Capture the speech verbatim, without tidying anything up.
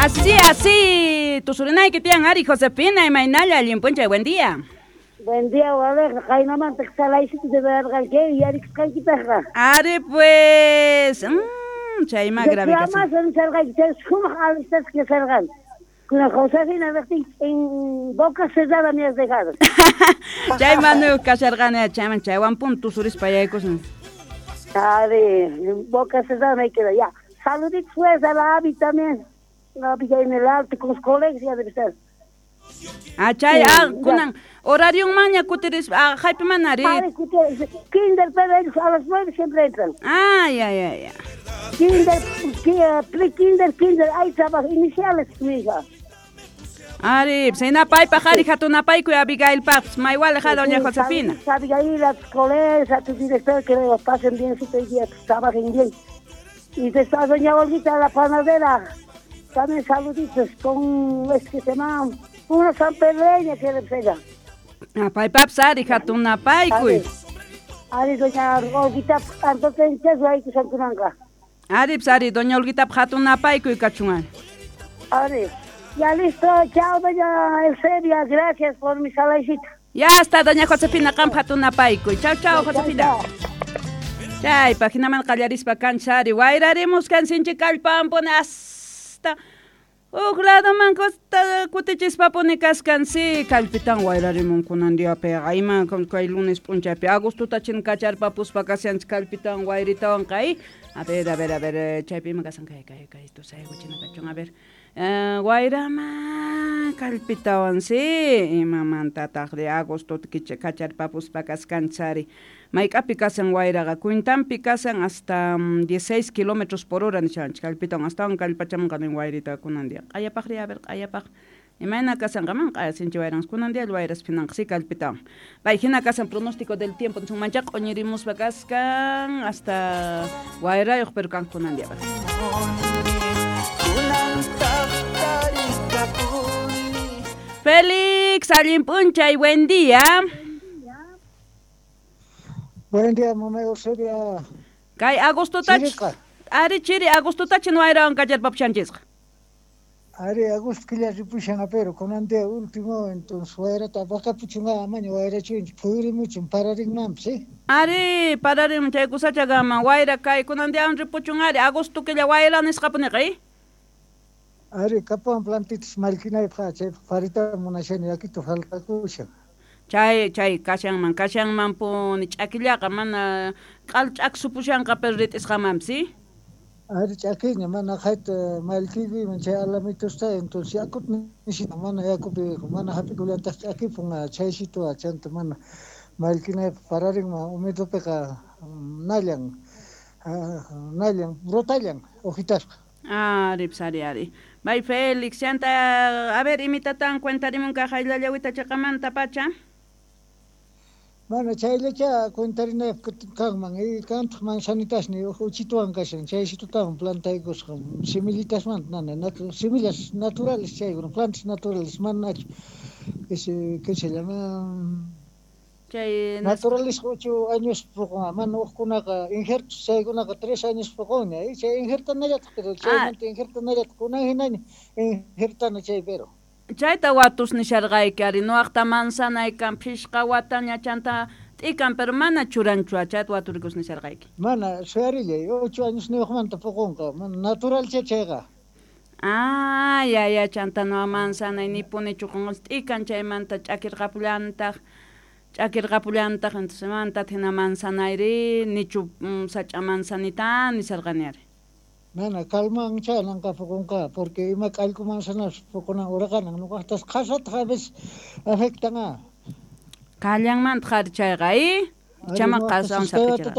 Así, así, tusurinayki tiyan ari Josefina, imaynalla, allin p'unchay, buen día. Buen día, Waleja, qaynamanta salaysita deberqanki, yarikusqankipaqqa. Ari pues, mmm, chayma grave kasan. Reclamasqa chay sumaq alistasqa kasharqan. Kuna Josefina riqtin en boca cerrada me has dejado. Chay manuyuq kasharqani, chayman chaywan pun tusurispa yaykusan. Ari, en boca cerrada me queda ya. Saluditos pues a la Abby también. La Abby ya en el alto con sus colegas ya debe estar. Ah, chay, ah, kunan horarionmanña kutirispa, ah, haypiman ari. Ari, kinder, pero ellos a las nueve siempre entran. Ah, ya, ya, ya. Kinder, pre-kinder, kinder, hay trabajo iniciales, mi hija. Ari, paypaq ari hatunapaykuy Abigailpaqpas, maywalej doña Josefina. Abigail, a tus colegas, a tu director, que lo pasen bien, su día, que trabajen bien. Y después doña Olguita, la panadera, también saluditos con, es que se llama, una sanpedreña que le pega. Ah, paypapis ari hatunapaykuy. Ari, doña Olguita, tanto hay que sankunanqa. Ari, ari, doña Olguita, hatunapaykuy kachun. Ari. Ya listo, chao doña Eusebia, gracias por mi salaysita. Ya está, doña Josefina, qampa hatunapaykuy. Chao, chao, Josefina. Chay, paginaman qallarispa kanchari, wayrarimuskan sinchi kallpanpuni hasta huk ladoman kutichispa-puni kaskan, si kallpitan wayrarimun kunan diapiqa, ima kay lunes p'unchaypi agostota chin kacharpapuspa kashanchik kallpitawan wayritawanqa, a ver, a ver, a ver, chaypi ima kasan kay kay kay tusaykuchina kachun, a ver, wayrama kallpitawan, si imamantataqri agostota kacharpapuspa kaskanchari. Mayk'api kasan wayraqa, cuentanpi kasan hasta dieciséis kilómetros por hora nishanchik kallpitawan, astawan kallpachamunqa nin wayrita kunan día. Q'ayapaqri, a ver, q'ayapaq. Imayna kasanqa man q'aya sinchi wayranqa, kunan día wayras phinanqa si kallpitawan. Pay hina kasan pronóstico del tiempo, mancha q'uñirimuspa kaskan hasta wayrayuq pero kan kunan día. Félix, allin p'unchay, buen día. Buen día, mamá Eusebia. Kay agostotach. Ari chiri agostotach wayrawan kacharpapushanchisqa. Ari agosto killa ripushan pero kunan día último entonces wayrata apakapuchunqa amaña wayrachunchik phuyurimuchun pararinmanpis, ¿sí? Ari pararinman chay kusachagaman wayra kay kunan diawan ripuchun ari agosto killa wayra nisqapuniqa, ¿eh? Ari kapuwan plantitas mallkinaypaq chaypaq parita munashani yakito faltakushan. Chay chay kashanman kashanman puni ch'akillaqa mana q'al ch'aksupushanqa pero rit'isqamanpis, ¿sí? Ari ch'akiña mana qayta mallkikuyman chay alamitusta entonces yakuta nishita mana yakupi mana hap'ikullantaq ch'akipun chaysituqa chanta mana mallkinaypaq pararinman humidopiqa nallan nallan brotallan hojitasqa. Ari, pues, ari, ari. Bay Félix, chanta, a ver, imitatan cuentarimunqa hayllallawita chaqamanta pacha. Mana chayllacha cuentarinaypaq kanman, y kantaq manzanitasni uchituwan kashan, chaysitutawan plantaykusqa, semillitasmanta nana, natu, semillas naturales chaykuna, plantas naturales, manachu, ese, ¿qué se llama? Chay naturales ocho años poqon, mana hukkunaqa injertos chaykunaqa tres años poqonña, y chay injertanallataq, pero chaymanta injertanallataq, kunan hinaña injertana chay pero. Chayta watus nisharqayki ari nuwaqta manzanaykan phishqa wataña chanta t'ikan pero mana churanchu chayta waturikus nisharqayki. Mana suyarillay ocho años niyuqmanta poqonqa, mana natural chay chayqa. Ah, ya ya chanta nuwa manzanay nipuni chuqunqa t'ikan chaymanta ch'akirqapullantaq. Ch'akirqapullantaq entonces manta hina manzanayri nichu sach'a manzanita nisharqani ari. Mana kalman chananqa poqonqa porque ima k'allku manzanas poqonan uraqanan nuqaqtas qhasataq a veces afectan a. Kallanmantaq ari chayqa, ¿eh? Chama qhasawan saphichirqa.